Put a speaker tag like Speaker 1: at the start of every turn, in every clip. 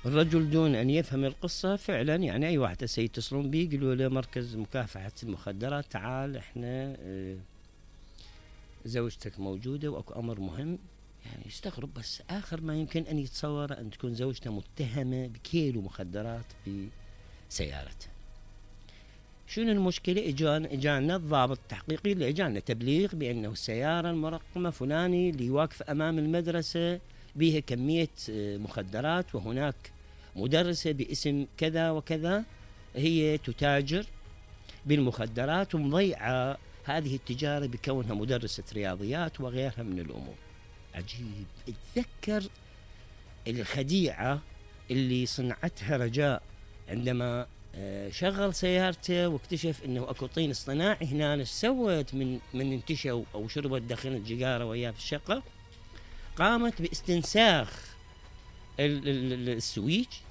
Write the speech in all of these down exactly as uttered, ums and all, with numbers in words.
Speaker 1: الرجل دون أن يفهم القصة فعلا، يعني أي واحد هسه يتصلون بيه يقولوا له مركز مكافحة المخدرات تعال احنا اه زوجتك موجودة وأكو أمر مهم، يعني يستغرب. بس آخر ما يمكن أن يتصور أن تكون زوجته متهمة بكيلو مخدرات بسيارته. شنو المشكلة؟ إجانا إجانا الضابط التحقيقي اللي إجانا تبليغ بأنه السيارة المرقمة فلاني اللي واقف أمام المدرسة بها كمية مخدرات، وهناك مدرسة باسم كذا وكذا هي تتاجر بالمخدرات ومضيعة هذه التجارة بكونها مدرسة رياضيات وغيرها من الأمور. عجيب. اتذكر الخديعة اللي صنعتها رجاء عندما شغل سيارته واكتشف انه اكو طين اصطناعي هنا. ايش سوت من من انتشوا او شربت دخنت جيجاره وياه في الشقه؟ قامت باستنساخ السويتش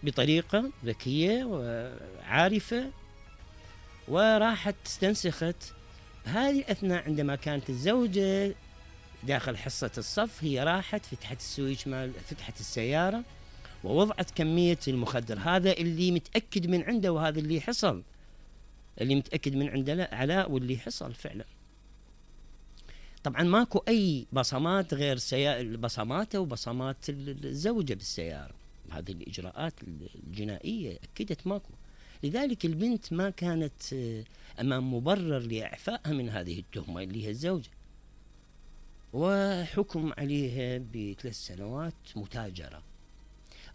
Speaker 1: بطريقه ذكيه وعارفه، وراحت استنسخت. بهذه الاثناء عندما كانت الزوجه داخل حصه الصف هي راحت فتحت السويتش مال فتحت السياره ووضعت كمية المخدر. هذا اللي متأكد من عنده، وهذا اللي حصل، اللي متأكد من عنده علاء واللي حصل فعلا. طبعا ماكو أي بصمات غير سيا... بصماته وبصمات الزوجة بالسيارة. هذه الإجراءات الجنائية أكدت ماكو. لذلك البنت ما كانت أمام مبرر لإعفائها من هذه التهمة اللي هي الزوجة، وحكم عليها بثلاث سنوات متاجرة.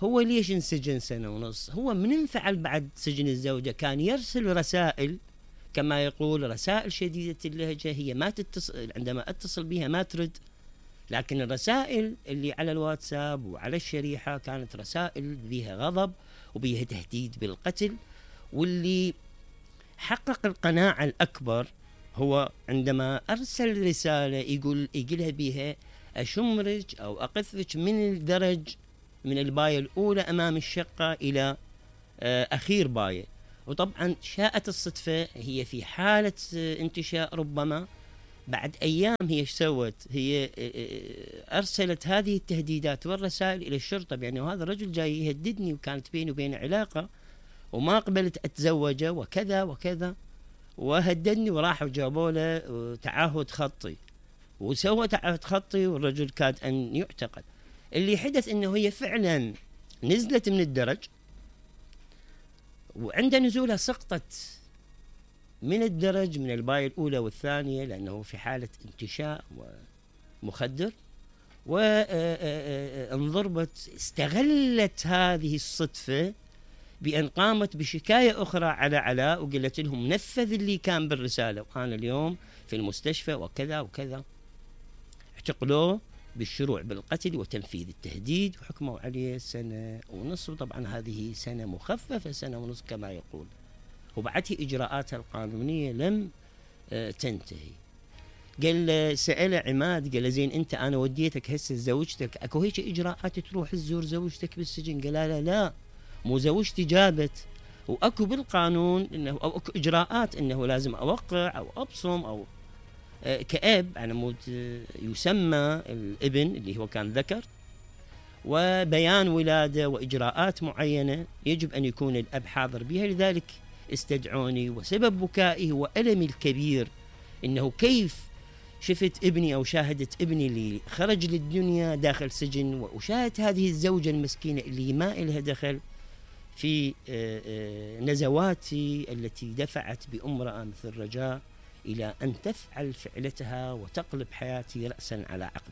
Speaker 1: هو ليش انسجن سنة ونص؟ هو من انفعل بعد سجن الزوجة كان يرسل رسائل، كما يقول رسائل شديدة اللهجة. هي ما تتصل، عندما اتصل بها ما ترد، لكن الرسائل اللي على الواتساب وعلى الشريحة كانت رسائل بها غضب وبها تهديد بالقتل. واللي حقق القناعة الأكبر هو عندما أرسل رسالة يقول يقولها بها أشمرك أو أقذفك من الدرج من الباية الأولى أمام الشقة إلى أخير باية. وطبعا شاءت الصدفة هي في حالة انتشاء، ربما بعد أيام هي ايش سوت؟ هي أرسلت هذه التهديدات والرسائل إلى الشرطة بأنه هذا الرجل جاي يهددني وكانت بيني وبينه علاقة وما قبلت أتزوجه وكذا وكذا، وهددني. وراحوا جابوا له تعهد خطي وسوى تعهد خطي، والرجل كاد أن يعتقل. اللي حدث انه هي فعلا نزلت من الدرج، وعند نزولها سقطت من الدرج من الباية الأولى والثانية لأنه في حالة انتشاء ومخدر، وانضربت. استغلت هذه الصدفة بأن قامت بشكاية أخرى على علاء وقالت لهم نفذ اللي كان بالرسالة وأنا اليوم في المستشفى وكذا وكذا. اعتقلوه بالشروع بالقتل وتنفيذ التهديد وحكموا عليه سنة ونصف. وطبعا هذه سنة مخففة، سنة ونصف كما يقول. وبعدها إجراءاتها القانونية لم تنتهي. قال سأله عماد، قال زين أنت أنا وديتك هسه زوجتك، أكو هيك إجراءات تروح تزور زوجتك بالسجن؟ قال لا لا مو زوجتي جابت، وأكو بالقانون إنه أو أكو إجراءات إنه لازم أوقع أو أبصم أو كأب على مود يسمى الابن اللي هو كان ذكر، وبيان ولادة وإجراءات معينة يجب أن يكون الأب حاضر بها. لذلك استدعوني، وسبب بكائي وألمي الكبير إنه كيف شفت ابني أو شاهدت ابني اللي خرج للدنيا داخل سجن، وشاهدت هذه الزوجة المسكينة اللي ما إلها دخل في نزواتي التي دفعت بأمرأة مثل رجاء إلى أن تفعل فعلتها وتقلب حياتي رأسا على عقب.